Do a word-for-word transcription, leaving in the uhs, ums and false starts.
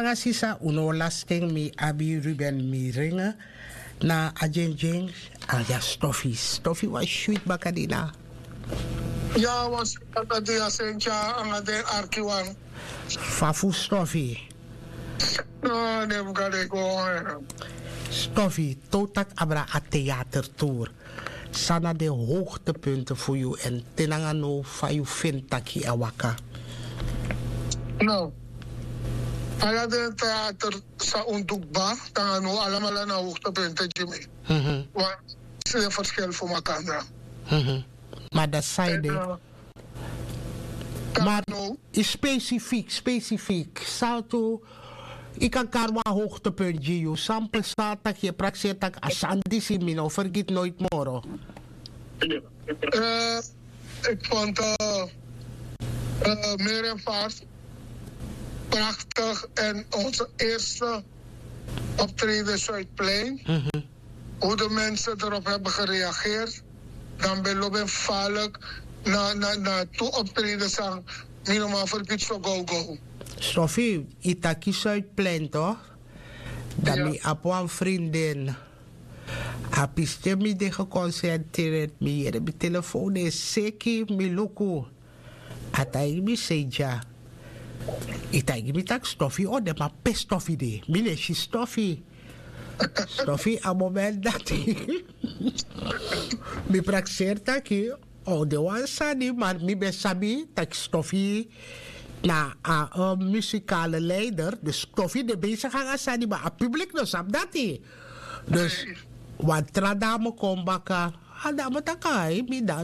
nanga sisa un no o lasi ten. Mi abi ruben mi ringe na a dyendyen. Anga stofi stofi wan switi bakadina. Ya wan switi bakadina sentya anga den arki wan. Fa fu stofi? No den fu gade go. Stofi, totak abra a theatertour. San na den hoogtepunten fu yu èn te nanga now fa yu feni tak' yu e waka? No, ala den theater san un du kba nanga now alamala na hoogtepunten gi mi. Wan sle verschil fu makandra. Ma dati san yu de. Mar yu specifiek specifiek san tu yu kan kari wan hoogtepunt gi yu san pesa tak' yu e prakseri tak' a sani disi mi no fergiti noiti moro. Ik vond uh, uh, meer en vaart prachtig en onze eerste optreden Zuidplein. Hoe de mensen erop hebben gereageerd, dan ben lopen vaarlijk na, na, na toe optreden sang minimaal verbied zo go go. Sophie, itaki Zuidplein toch? Dan mi apu een vriendin. A piste mi de geconcentreerd mi yere mi telefoon is seki mi luku. A taigi mi sei dya. I taigi mi tak' stofi o de ma pe stofi de mi no e si stofi. Stofi a moment dati mi prakseri taki o de wan sani ma mi ben sabi taki stofi na a musikale leider dus stofi de besigi nanga sani ma a publik no sabi dati. Dus wan tra dame kon baka. A dame taki a e mi dan